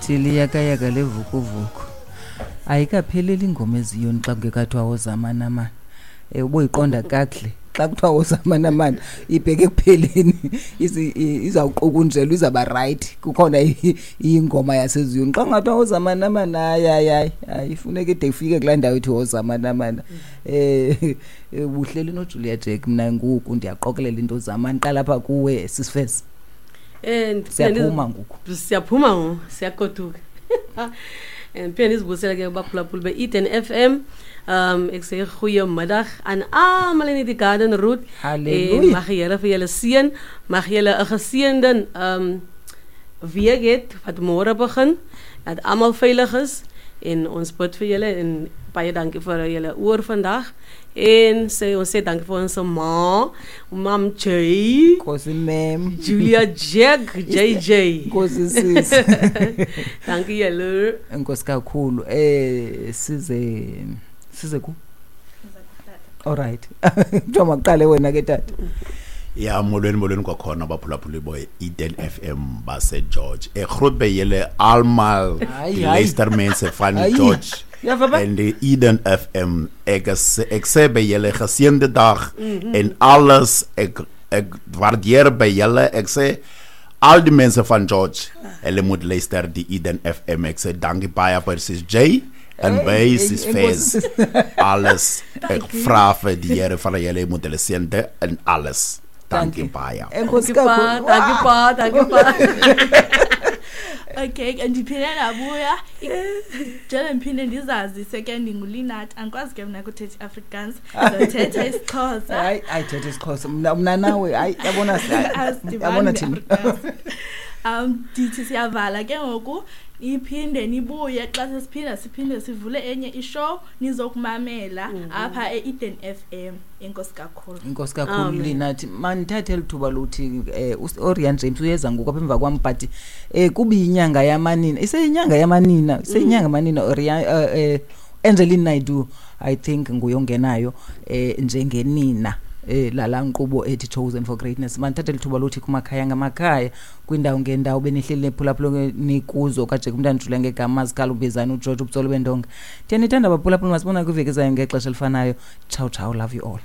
Lithi liyakayaka levukuvuku. Ayikapheleli ingoma eziyoni xa kungekathiwa wozamanamana. Uboyiqonda kakuhle. Xa kuthiwa wozamanamana ibheke ekupheleni izawuqukunjelwa izawuba rayithi. Kukhona ingoma yaseziyoni. Xa kungathiwa wozamanamana hayi hayi hayi hayi ifuneka ide ifike kulaa ndawo ithi wozamanamana. Ubuhleli noJulia Jack mna ngoku ndiyaqokelela into zamani qala apha kuwe sisifesi. Siyaphuma ngoku. Siyaphuma ngoku, siyagoduka. Ndiphinde ndizibusele ke kubaphulaphuli be-Eden FM. Ek sê goeiemiddag aan almal in die Garden Route. Halleluja. En mag die Here vir julle seën. Mag julle 'n geseënde week hê wat môre begin. Dat almal veilig is en ons bid vir julle en baie dankie vir julle oor vandag. En ons sê dankie vir ons ma, Mam J. Nkosi ma'am. Julia Jack, JJ. Nkosi sis. Dankie julle. Enkosi kakhulu. Size ku? All right. Kuthiwa makuqale wena ke tata. Ya, molweni, molweni kwakhona abaphulaphuli bo Eden FM base George. Groet by julle almal, Hayi, die hayi. luistermense van Hayi. George. Ja, papa. En die Eden FM. Ek sê by julle geseënde dag en alles. Ek waardeer by julle. Ek sê al die mense van George, hulle moet luister die Eden FM. Ek sê dankie baie vir Sis J en Hey, by hey, Sis en Fez. Sis- Alles. Ek Dankie. vra vir die Here van julle moet hulle seën en alles. Dankie Dankie. baie. Enkosi Dankie pa, kakhulu. dankie pa, dankie pa. Okay, ndiphinde ndabuya. Njengoba ndiphinde ndizazise ke ndinguLinat, andikwazi ke mna kuthetha iAfrikaans, ndothetha isiXhosa. Hayi, hayi thetha isiXhosa. Mna nawe, hayi, yabona si-, Asidibani yabona thina. ne-Afrikaans. Ndithi siyavala ke ngoku, niphinde nibuye xa sesiphinda siphinde sivule enye ishow nizokumamela apha e-Eden FM. Enkosi kakhulu. Enkosi kakhulu, Amen. Linathi. Mandithathe eli thuba lokuthi Orian James uyeza ngoku apha emva kwam, but kubi inyanga yamanina. Iseyinyanga yamanina, iseyinyanga yamanina Orian Angeline Naidoo, I think nguye ongenayo njengenina. Lala nkqubo ethi Chosen for Greatness. Mandithathe eli thuba lokuthi kumakhaya ngamakhaya, kwindawo ngendawo benihleli nephulaphula nikuzo kaJack umntana Julia ngegama Mazikhala ubizana uGeorge ubutsolo bendonga. Ndiyanithanda baphulaphula, masibona kwiveki ezayo ngexesha elifanayo. Ciao ciao, love you all.